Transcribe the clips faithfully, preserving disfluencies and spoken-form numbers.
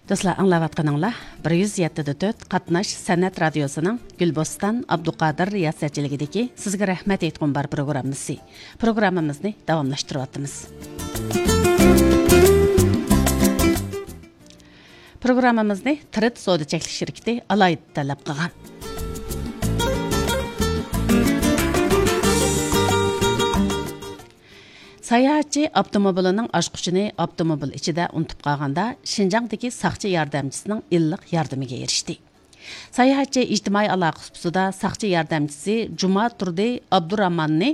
دوستلار، ئاڭلاۋاتقىنىڭلار بىر يۈز يەتتە دە تۆت قاتناش سەنئەت رادىيوسىنىڭ گۈلبوستان ئابدۇقادىر رىياسەتچىلىكىدىكى سىزگە رەھمەت ئېيتقۇم بار پروگراممىسى. پروگراممىمىزنى داۋاملاشتۇرۇۋاتىمىز. پروگراممىمىزنى تىرىت سودا چەكلىك شىركىتى ئالاھىدە تەلەپ قىلغان. ساياھەتچى ئاپتوموبىلىنىڭ ئاچقۇچىنى ئاپتوموبىل ئىچىدە ئۇنتۇپ قالغاندا، شىنجاڭدىكى ساقچى ياردەمچىسىنىڭ ئىللىق ياردىمىگە ئېرىشتى. ساياھەتچى ئىجتىمائىي ئالاقە سۇپىسىدا ساقچى ياردەمچىسى جۇماتۇردى ئابدۇراھماننى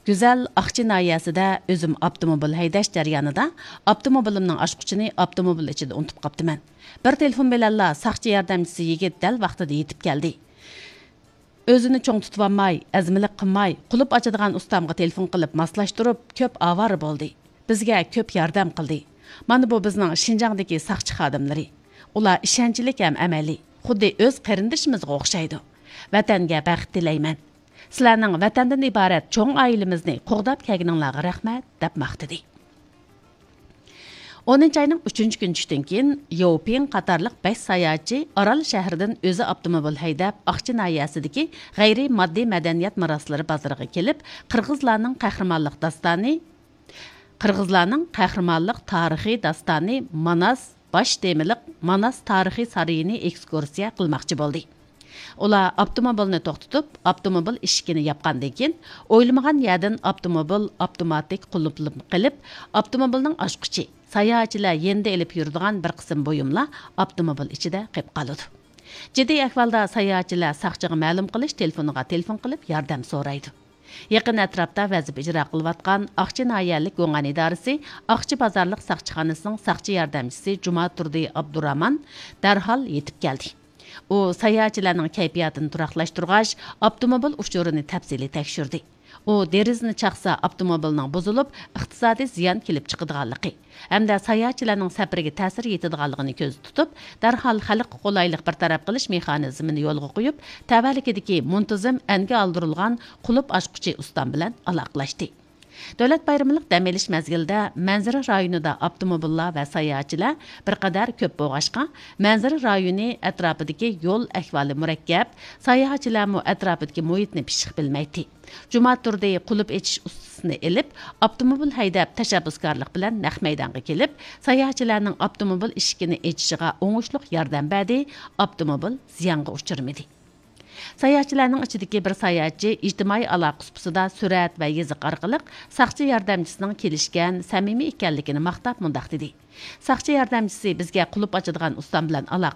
گۈزەل ئاقچى ناھىيەسىدە ئۆزۈم ئاپتوموبىل ھەيدەش جەريانىدا ئاپتوموبىلىمنىڭ ئاچقۇچىنى ئاپتوموبىل ئىچىدە ئۇنتۇپ قاپتىمەن. بىر تېلېفون بىلەنلا ساقچى ياردەمچىسى يىگىت دەل ۋاقتىدا يېتىپ كەلدى. ئۆزىنى چوڭ تۇتۇۋالماي، ئەزمىلىك قىلماي، قۇلۇپ ئاچىدىغان ئۇستامغا تېلېفون قىلىپ ماسلاشتۇرۇپ، كۆپ ئاۋارە بولدى. بىزگە كۆپ ياردەم قىلدى. مانا بۇ بىزنىڭ شىنجاڭدىكى ساقچى خادىملىرى. ئۇلار ئىشەنچلىك ھەم ئەمەلىي، خۇددى ئۆز قېرىندىشىمىزغا ئوخشايدۇ. ۋەتەنگە بەخت تىلەيمەن. سىلەرنىڭ ۋەتەندىن ئىبارەت چوڭ ئائىلىمىزنى قوغداپ كەلگىنىڭلارغا رەھمەت، دەپ ماختىدى. ئونىنچى ئاينىڭ ئۈچىنچى كۈنى چۈشتىن كېيىن، ياۋپىڭ قاتارلىق بەش ساياھەتچى ئارال شەھىرىدىن ئۆزى ئاپتوموبىل ھەيدەپ، ئاقچى ناھىيەسىدىكى غەيرىي ماددىي مەدەنىيەت مىراسلىرى بازىرىغا كېلىپ، قىرغىزلارنىڭ قەھرىمانلىق داستانى، قىرغىزلارنىڭ قەھرىمانلىق تارىخىي داستانى ماناس باش تېمىلىق ماناس تارىخىي سارىيىنى ئېكسكۇرسىيە قىلماقچى بولدى. ئۇلار ئاپتوموبىلنى توختىتىپ، ئاپتوموبىل ئىشىكىنى ياپقاندىن كېيىن، ئويلىمىغان يەردىن ئاپتوموبىل ئاپتوماتىك قۇلۇپلىنىپ قېلىپ، ئاپتوموبىلنىڭ ئاچقۇچى، ساياھەتچىلەر يېنىدا ئېلىپ يۈرىدىغان بىر قىسىم بۇيۇملار ئاپتوموبىل ئىچىدە قېلىپ قالىدۇ. جىددىي ئەھۋالدا ساياھەتچىلەر ساقچىغا مەلۇم قىلىش تېلېفونىغا تېلېفون قىلىپ ياردەم سورايدۇ. يېقىن ئەتراپتا ۋەزىپە ئىجرا قىلىۋاتقان ئاقچى ناھىيەلىك گۇڭئەن ئىدارىسى ئاقچى بازارلىق ساقچىخانىسىنىڭ ساقچى ياردەمچىسى جۇماتۇردى ئابدۇرامان دەرھال يېتىپ كەلدى. ئۇ ساياھەتچىلەرنىڭ كەيپىياتىنى تۇراقلاشتۇرغاچ، ئاپتوموبىل ئۇچۇرىنى تەپسىلىي تەكشۈردى. ئۇ دېرىزىنى چاقسا، ئاپتوموبىلنىڭ بۇزۇلۇپ، ئىقتىسادىي زىيان كېلىپ چىقىدىغانلىقى ھەمدە ساياھەتچىلەرنىڭ سەپىرىگە تەسىر يېتىدىغانلىقىنى كۆزدە تۇتۇپ، دەرھال خەلققە قولايلىق بىر تەرەپ قىلىش مېخانىزمىنى يولغا قويۇپ، تەۋەلىكىدىكى مۇنتىزىم ئەنگە ئالدۇرۇلغان قۇلۇپ ئاچقۇچى ئۇستام بىلەن ئالاقىلەشتى. دۆلەت بايرىملىق دەم ئېلىش مەزگىلىدە مەنزىرە رايونىدا ئاپتوموبىللار ۋە ساياھەتچىلەر بىر قەدەر كۆپ بولغاچقا، مەنزىرە رايونى ئەتراپىدىكى يول ئەھۋالى مۇرەككەپ، ساياھەتچىلەرمۇ ئەتراپىدىكى مۇھىتنى پىششىق بىلمەيتتى. جۇماتۇردى قۇلۇپ ئېچىش ئۇستىسىنى ئېلىپ، ئاپتوموبىل ھەيدەپ، تەشەببۇسكارلىق بىلەن نەق مەيدانغا كېلىپ، ساياھەتچىلەرنىڭ ئاپتوموبىل ئىشىكىنى ئېچىشىغا ئوڭۇشلۇق ياردەم بەردى، ئاپتوموبىل زىيانغا ئۇچرىمىدى. ساياھەتچىلەرنىڭ ئىچىدىكى بىر ساياھەتچى ئىجتىمائىي ئالاقە سۇپىسىدا سۈرەت ۋە يېزىق ئارقىلىق ساقچى ياردەمچىسىنىڭ كېلىشكەن، سەمىمىي ئىكەنلىكىنى ماختاپ مۇنداق دېدى: ساقچى ياردەمچىسى بىزگە قۇلۇپ ئاچىدىغان ئۇستام بىلەن ئالاقە